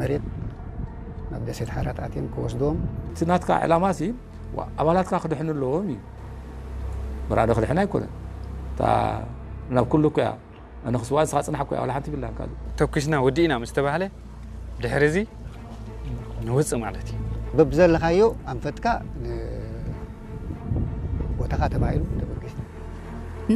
መሬት ናብ ደሴት ሓራት ኣትዮም ክወስድዎም። እቲ ናትካ ዕላማ ሲ ኣባላትካ ክድሕኑ ኣለዎም እዩ። መራዶ ክድሕን ኣይኮነን። እታ ናብ ኩሉ እኮ እያ። ኣነ ክስዋ ንስኻ ጽናሕ እኮ እያ። ዋላ ሓንቲ ቢላ ካልእ። ተኩስና ወዲእና ምስ ተባህለ ድሕሪ እዚ ንውጽእ ማለት እዩ። በብዘለኻዮ ኣንፈትካ ቦታኻ ተባሂሉ ተበጊስና።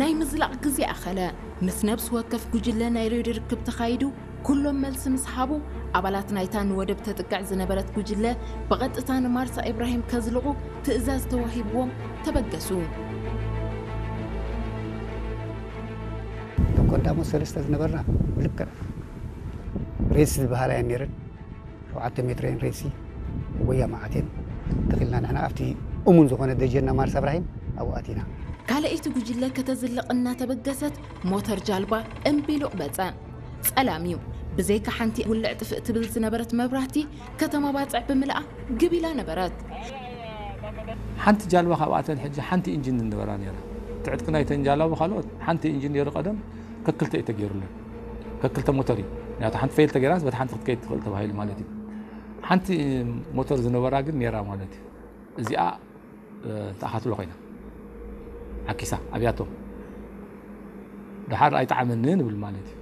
ናይ ምዝላቕ ግዜ ኣኸለ። ምስ ነብሲ ወከፍ ጉጅለ ናይ ሬድዮ ርክብ ተኻይዱ። ኩሎም መልሲ ምስ ሃቡ፣ ኣባላት ናይታ ንወደብ ተጥቅዕ ዝነበረት ጉጅለ ብቐጥታ ንማርሳ ኢብራሂም ከዝልቑ ትእዛዝ ተዋሂብዎም ተበገሱ። እቶም ቀዳሞት ሰለስተ ዝነበርና ልክዕ ሬድስ ዝበሃላ እየን ነይረን። ሸውዓተ ሜትር እየን ሬድሲ ወያ መዓት እየን ተኺልና ንሕና ኣብቲ እሙን ዝኾነ ደጀና ማርሳ እብራሂም ኣብኡ ኣቲና። ካልኣይቲ ጉጅለ ከተዝልቕ እናተበገሰት ሞተር ጃልባ እምቢሉ በጸ። ጸላም እዩ። ብዘይካ ሓንቲ ውልዕ ጥፍእ ትብል ዝነበረት መብራህቲ ከተማ ባጽዕ ብምልኣ ግብ ኢላ ነበረት። ሓንቲ ጃልባ ካብኣተን ሕጂ ሓንቲ ኢንጂን ዝነበራ ነይራ። ትዕጥቂ ናይተን ጃላቡ ካልኦት ሓንቲ ኢንጂን ነይሩ ቀደም ከክልተ እዩ ተገይሩለን። ከክልተ ሞተር እዩ። ምክንያቱ ሓንቲ ፌል ተገይራስ በቲ ሓንቲ ክትከይድ ትኽእል ተባሂሉ ማለት እዩ። ሓንቲ ሞተር ዝነበራ ግን ነይራ ማለት እዩ። እዚኣ ተኣኻትሎ ኮይና ዓኪሳ ኣብያቶም ድሓር ኣይጠዓመኒ ንብል ማለት እዩ።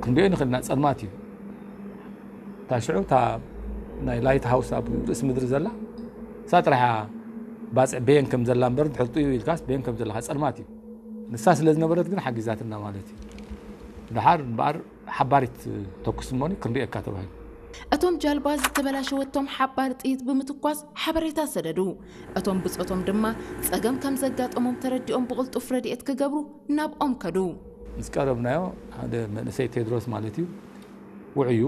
ክንሪኦ ንኽእልና ጸልማት እዩ። እታ ሽዑ እታ ናይ ላይት ሃውስ ኣብ ርእሲ ምድሪ ዘላ እሳ ጥራሕ እያ ባጽዕ በየን ከም ዘላ እምበር ድሕር ጥዩ ኢልካስ በየን ከም ዘለካ ጸልማት እዩ። ንሳ ስለ ዝነበረት ግን ሓጊዛትና ማለት እዩ። ድሓር እምበኣር ሓባሪት ተኩስ እሞኒ ክንሪኤካ ተባሂሉ። እቶም ጃልባ ዝተበላሸወቶም ሓባር ጥይት ብምትኳስ ሓበሬታ ሰደዱ። እቶም ብጾቶም ድማ ጸገም ከም ዘጋጠሞም ተረዲኦም ብቕልጡፍ ረድኤት ክገብሩ ናብኦም ከዱ። ምስ ቀረብናዮ ሓደ መንእሰይ ቴድሮስ ማለት እዩ ውዕዩ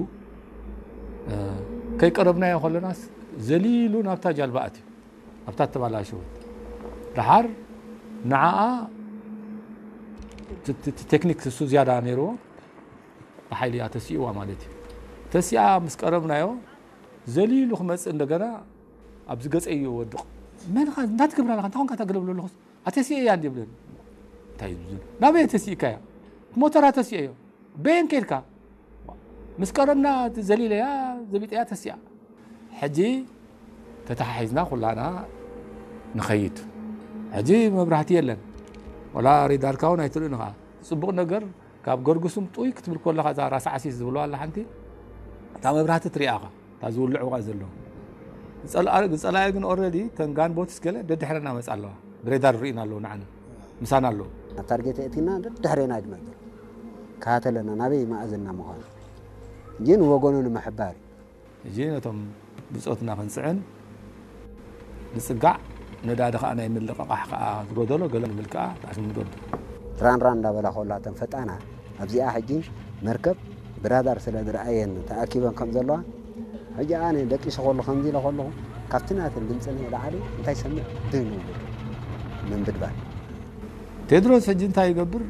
ከይቀረብናዮ ከለናስ ዘሊሉ ናብታ ጃልባ ኣትዩ ኣብታ ተባላሸወት ድሓር ንዓኣ ቴክኒክ እሱ ዝያዳ ነይርዎ ብሓይሊ እያ ተሲእዋ ማለት እዩ። ተሲኣ ምስ ቀረብናዮ ዘሊሉ ክመፅእ እንደገና ኣብዚ ገፀይ እዩ ወድቕ። መን ኻ እንታይ ትገብር ኣለኻ እንታይ ኾንካ ተገለብሎ ኣለኹስ ኣተሲኤ እያ እንዲ ይብለኒ። እንታይ እዩ ዝብል ናበይ ተሲእካ እያ ሞተራ ተሲኤ እዮ በየን ከይድካ ምስ ቀረብና ዘሊለያ ዘቢጠያ ተሲኣ ሕጂ ተተሓሒዝና ኩላና ንኸይድ። ሕጂ መብራህቲ የለን ወላ ሬዳርካ እውን ኣይትርእን ኢኻ። ጽቡቕ ነገር ካብ ገርግሱም ጡይ ክትብል ከለኻ እዛ ራስ ዓሲስ ዝብለዋ ኣላ ሓንቲ እታ መብራህቲ ትሪኣ ኢኻ እታ ዝውልዕዋ ዘለዉ። ዝጸላኢ ግን ኦረዲ ተን ጋን ቦትስ ገለ ደድሕረና መጻ ኣለዋ። ብሬዳር ርኢና ኣለዉ ንዓና ምሳና ኣለዉ። ኣብ ታርጌት የእቲና ደድሕሬና ድመጽእ ካተለና ናበይ መኣዝና ምዃኑ ግን ወገኑ ንምሕባር እዩ። ሕጂ ነቶም ብጾትና ክንጽዕን ንጽጋዕ ነዳዲ ከኣ ናይ ምልቕቓሕ ከኣ ዝጎደሎ ገለ ንብል ከኣ ተኣስም ንገብር። ራን ራን እንዳበላ ከሎ እተን ፈጣናት ኣብዚኣ ሕጂ መርከብ ብራዳር ስለ ዝረኣየን ተኣኪበን ከም ዘለዋ ሕጂ ኣነ ደቂሰ ከሉ ከምዚ ኢለ ከለኹ ካብቲ ናተን ድምፂ ንላዕሊ እንታይ ሰምዕ ድህን ይብል ምንብድባድ ቴድሮስ ሕጂ እንታይ ይገብር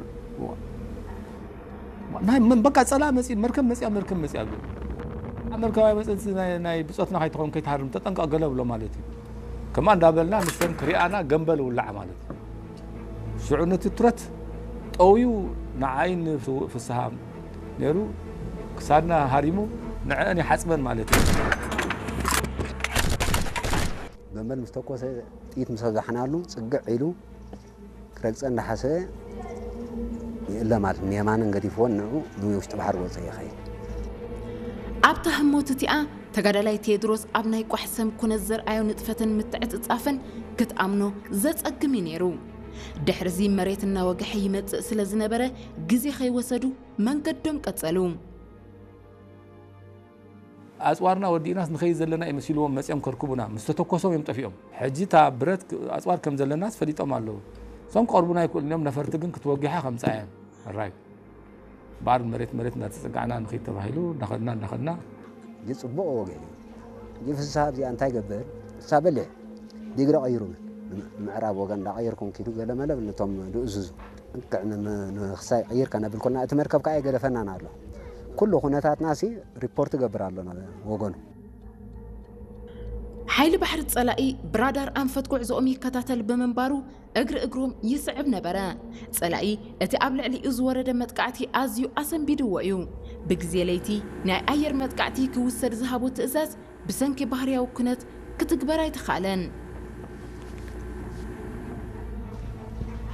ናይ መን በቃ ጸላ መጺ መርከብ መጺያ መርከብ መጺያ ገ መርከባዊ መጽንሲ ናይ ብጾትና ከይትኸውን ከይትሃርም ተጠንቀቕ ገለ ብሎ ማለት እዩ። ከማ እንዳበልና ንሰን ክሪኣና ገንበል ውላዕ ማለት እዩ። ሽዑ ነቲ ትረት ጠውዩ ንዓይ ንፍስሃ ነይሩ ክሳድና ሃሪሙ ንዕአን ይሓጽበን ማለት እዩ። ገንበል ምስ ተኮሰ ጥይት ምስ ኣብዛሕናሉ ጽግዕ ኢሉ ክረግጸ እንዳሓሰበ ይእለ ማለት ንየማንን ገዲፍዎን ንዑ ንውሽጢ ባሕሪ ወጸ ይኸይድ። ኣብታ ህሞት እቲኣ ተጋዳላይ ቴድሮስ ኣብ ናይ ቋሕ ሰም ኩነት ዘርኣዮ ንጥፈትን ምትዕጽጻፍን ክትኣምኖ ዘጸግም እዩ ነይሩ። ድሕርዚ መሬት እናወግሐ ይመጽእ ስለ ዝነበረ ግዜ ከይወሰዱ መንገዶም ቀጸሉ። ኣፅዋርና ወዲእናስ ንኸይድ ዘለና እዩ መሲልዎም መፅኦም ከርክቡና ምስ ተተኮሶም እዮም ጠፊኦም። ሕጂ እታ ብረት ኣፅዋር ከም ዘለናስ ፈሊጦም ኣለዉ። እሶም ክቐርቡና ኣይክእሉን እዮም። ነፈርቲ ግን ክትወጊሓ ከምፃ እየን። ራይ ባር መሬት መሬት እናተፀጋዕና ንኸይድ ተባሂሉ እናኸድና እናኸድና ይፅቡቕ ወገን እዩ። ፍስሃ ኣብዚኣ እንታይ ገብር እሳ በልሕ ዲግሪ ቀይሩ ምዕራብ ወገን እንዳቐየርኩም ኪዱ ገለመለ ነቶም ድእዝዙ ንክሳይ ቀይር ከነብል ኮና እቲ መርከብ ከዓ የገደፈናን ኣሎ። ኩሉ ኩነታትና ሲ ሪፖርት ገብር ኣሎ ወገኑ። ሓይሊ ባሕሪ ጸላኢ ብራዳር ኣንፈት ጉዕዞኦም ይከታተል ብምንባሩ እግሪ እግሮም ይስዕብ ነበረ። ጸላኢ እቲ ኣብ ልዕሊኡ ዝወረደ መጥቃዕቲ ኣዝዩ ኣሰንቢድዎ እዩ። ብግዜ ለይቲ ናይ ኣየር መጥቃዕቲ ክውሰድ ዝሃቦ ትእዛዝ ብሰንኪ ባህርያዊ ኩነት ክትግበር ኣይተኻእለን።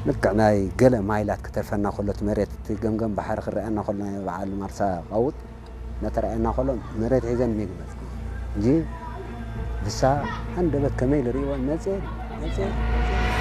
ልክዕ ናይ ገለ ማይላት ክተርፈና ከሎ እቲ መሬት እቲ ገምገም ባሕሪ ክረኣየና ከሎ ናይ በዓል ማርሳ ቀውጥ ነተረኣየና ከሎ መሬት ሒዘን ሚግ መጽ እንጂ ብሳ ኣንደበት ከመይ ልርእይወን መጽ መጽ